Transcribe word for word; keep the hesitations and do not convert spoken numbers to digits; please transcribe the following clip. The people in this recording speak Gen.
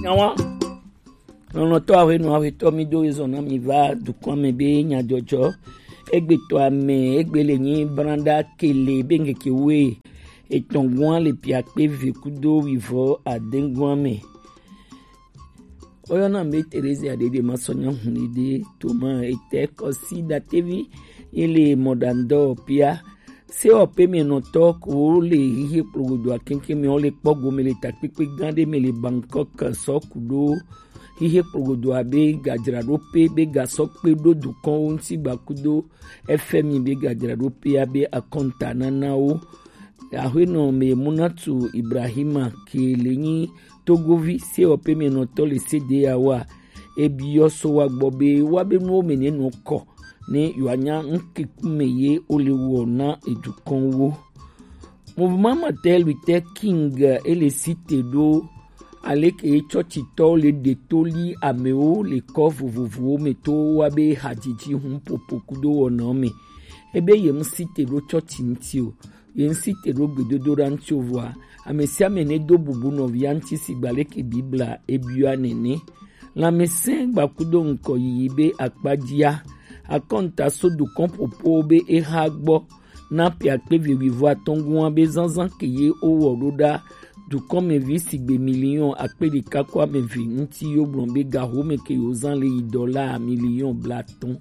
Nyawa. Lɔlɔ̃tɔ aƒenɔ aƒetɔ mi do ezɔ na mi va dukɔa me be nyadzɔdzɔ. Egbe tɔ ame, egbe le nyi branda kele be ŋkeke we etɔ̃ gɔa le piakpe ve kudo wivɔ ade gɔa me. Woyɔna be Teresia ɖeɖe masɔ nya hu ɖeɖe toma ete kɔsi datevi ye le mɔɖaŋdɔ pia. Sewɔƒemenɔtɔ ko le xixe kplogodoa keŋkeŋ me, wo le kpɔ gome le takpekpe gã ɖe me le Bangkok sɔ ku ɖo xixe kplogodoa be gadzraɖoƒe be gasɔ kpe ɖo dukɔnwo ŋuti gbakudo F M I be gadzraɖoƒea be akɔnta nanawo. Aƒenɔ me Munatu Ibrahima ke le nyi Togovi sewɔƒemenɔtɔ le sedeyawoa, ebiɔ so wa gbɔ be wa be nuwo me ne nɔ kɔ ne yewoanya ŋkekume ye wole wɔ na edukɔnwo. Mouvement Martin Luther King ele site ɖo aleke tsɔtsitɔwo le ɖe to li amewo le kɔ vovovowo me to wa be hadzidzi ŋu popo kudo wɔnawo me. Ebe ye ŋu site ɖo tsɔtsi ŋuti o, ye ŋu site ɖo gbedodoɖa ŋuti o vɔa, ame sia ame ne do bubu nɔvia ŋuti sigba leke Biblia ebiɔa nene. Lãmesẽ gbakudo ŋkɔ yiyi be akpadzia, akɔnta so dukɔn ƒoƒowo be exa gbɔ na ƒe akpe eve wuiatɔ̃ gɔa be zazã ke ye wowɔ ɖo ɖa dukɔnmevi sigbe miliɔn akpe ɖeka ko ame eve ŋuti yo gblɔ be gahome ke yo zã le yi dɔla miliɔn blaatɔ̃.